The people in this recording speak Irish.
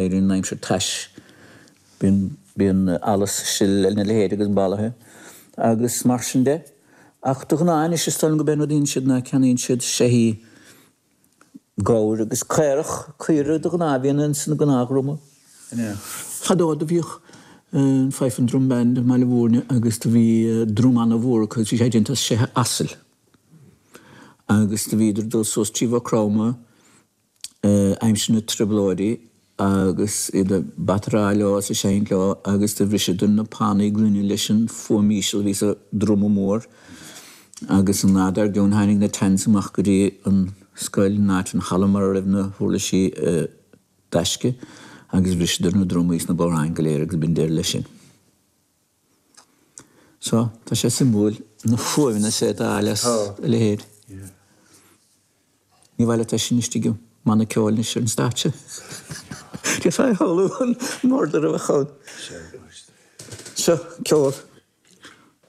Éiríonn an aimsir tais, bíonn, bíonn allas sil lena leithéid agus balaithe agus mar sin de. Ach de ghnáth anois is dóigh liom gurb é an rud a dhéanann siad ná ceannaíonn siad seithí gabhair agus caorach, caora de ghnáth a bhíonn ins an gnáthdhruma. Fadó do bhíodh an Fife and Drum Band i mBaile Mhúirne agus do bhí druma ana-mhór acu agus bhí sé déanta as seithe asail agus do bhíodar ag dul suas trí Mhaigh Chromtha aimsir na dTrioblóidí agus iad ag bataráil leo is ag seinnt leo agus do bhriseadar na pannaí gloine leis an fuaim íseal a bhí sa druma mór agus an lá dár gcionn tháinig na Tans amach go dtí an scoil in áit an halla mar a raibh na huirlisí i dtaisce agus bhriseadar na drumaí is na bodhráin go léir agus b'in deireadh leis sin. So, tá sé suimiúil na fuaimeanna is féidir a fháil as a leithéid. Ní mhaith leat é sin istigh i mbanna ceoil anois ar an stáitse. D'fhéadfá a shamhlú an murdar a bheadh ann. Seo ceol.